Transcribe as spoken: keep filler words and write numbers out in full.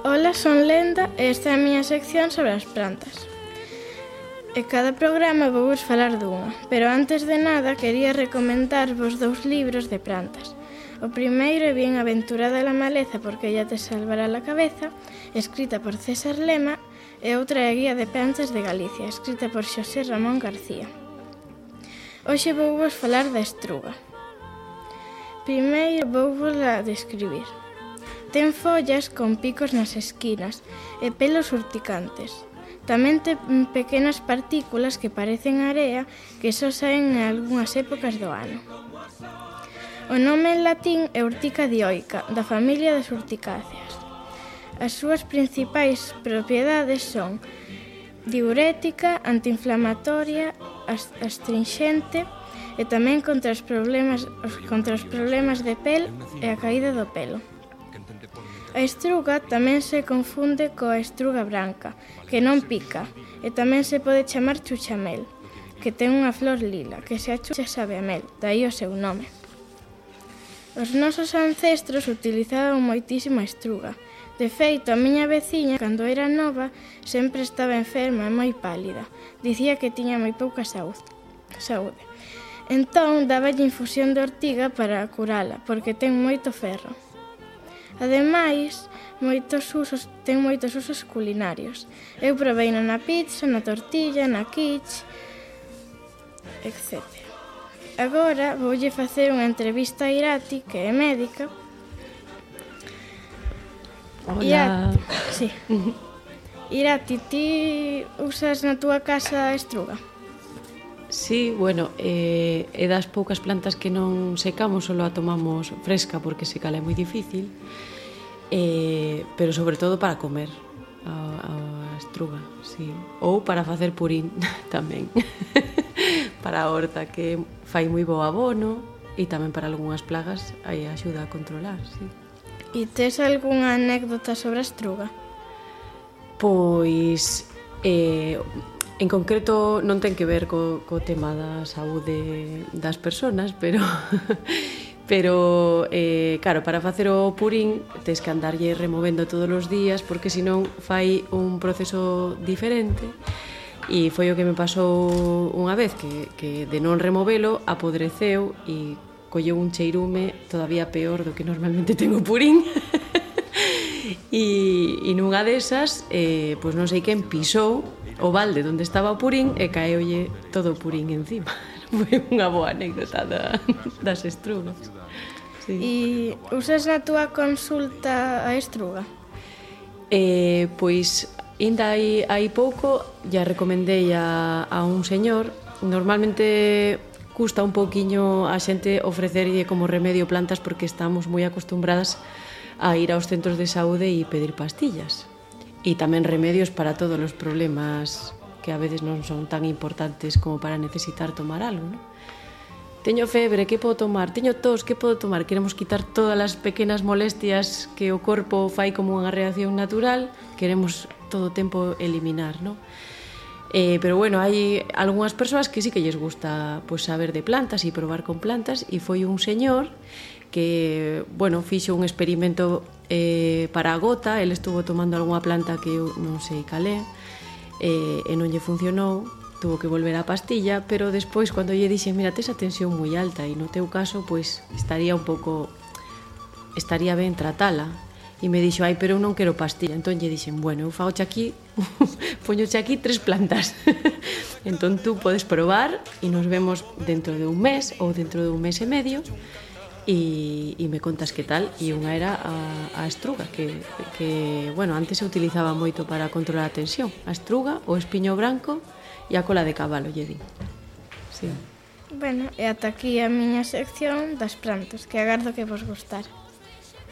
Ola, son Lenda e esta é a miña sección sobre as plantas. E cada programa vou vos falar dunha, pero antes de nada quería recomendarvos dous libros de plantas. O primeiro é Bien aventurada la maleza porque ella te salvará la cabeza, escrita por César Lema, e outra é a Guía de plantas de Galicia, escrita por Xosé Ramón García. Hoxe vou vos falar da estruga. Primeiro vou vos a describir. Ten follas con picos nas esquinas e pelos urticantes. Tamén ten pequenas partículas que parecen area que só saen en algunhas épocas do ano. O nome en latín é Urtica dioica, da familia das urticáceas. As súas principais propiedades son diurética, antiinflamatoria, astringente e tamén contra os problemas, contra os problemas de pel e a caída do pelo. A estruga tamén se confunde coa estruga branca, que non pica, e tamén se pode chamar chuchamel, que ten unha flor lila, que se achucha sabe a mel, daí o seu nome. Os nosos ancestros utilizaban moitísimo a estruga. De feito, a miña veciña, cando era nova, sempre estaba enferma e moi pálida. Dicía que tiña moi pouca saúde. Entón, dáballe infusión de ortiga para curala, porque ten moito ferro. Ademais, moitos usos, ten moitos usos culinarios. Eu provei na pizza, na tortilla, na quiche, etcétera. Agora voulle facer unha entrevista a Irati, que é médica. Hola. Irati, sí. Irati, ti usas na túa casa estruga? Sí, bueno, eh, é das poucas plantas que non secamos, só a tomamos fresca porque secar é moi difícil, eh, pero sobre todo para comer a, a estruga, sí. Ou para facer purín tamén, para a horta, que fai moi bo abono, e tamén para algunhas plagas aí axuda a controlar, sí. E tes algunha anécdota sobre a estruga? Pois... Eh, En concreto non ten que ver co, co tema da saúde das persoas, pero pero eh, claro, para facer o purín tes que andarlle removendo todos os días porque senón fai un proceso diferente e foi o que me pasou unha vez que, que de non removelo apodreceu e colleu un cheirume todavía peor do que normalmente ten o purín. E, e nunha desas, eh, pois non sei quen pisou o balde onde estaba o purín e caeulle todo o purín encima. Foi unha boa anécdota da, das estrugas. Sí. E usas na túa consulta a estruga? Eh, pois, ainda hai, hai pouco, ya recomendei a, a un señor. Normalmente custa un pouquiño a xente ofrecerlle como remedio plantas porque estamos moi acostumbradas a ir aos centros de saúde e pedir pastillas. E tamén remedios para todos os problemas que a veces non son tan importantes como para necesitar tomar algo, non? Teño febre, que podo tomar? Teño tos, que podo tomar? Queremos quitar todas as pequenas molestias que o corpo fai como unha reacción natural, queremos todo o tempo eliminar, non? Eh, pero bueno, hai algunhas persoas que sí que lles gusta pues, saber de plantas e probar con plantas, e foi un señor que, bueno, fixo un experimento eh, para a gota. Ele estuvo tomando algunha planta que eu non sei cal é, eh, e non lle funcionou, tuvo que volver á pastilla, pero despois, cando lle dixen, mira, tes a tensión moi alta e no teu caso, pois, estaría un pouco, estaría ben tratala. E me dixo, ai, pero eu non quero pastilla. Entón lle dixen, bueno, eu fagoche aquí, poñoche aquí tres plantas. Entón tú podes probar e nos vemos dentro de un mes ou dentro de un mes e medio e, e me contas que tal. E unha era a, a estruga, que, que, bueno, antes se utilizaba moito para controlar a tensión. A estruga, o espiño branco e a cola de cabalo, lle di. Sí. Bueno, e ata aquí a miña sección das plantas, que agardo que vos gustar.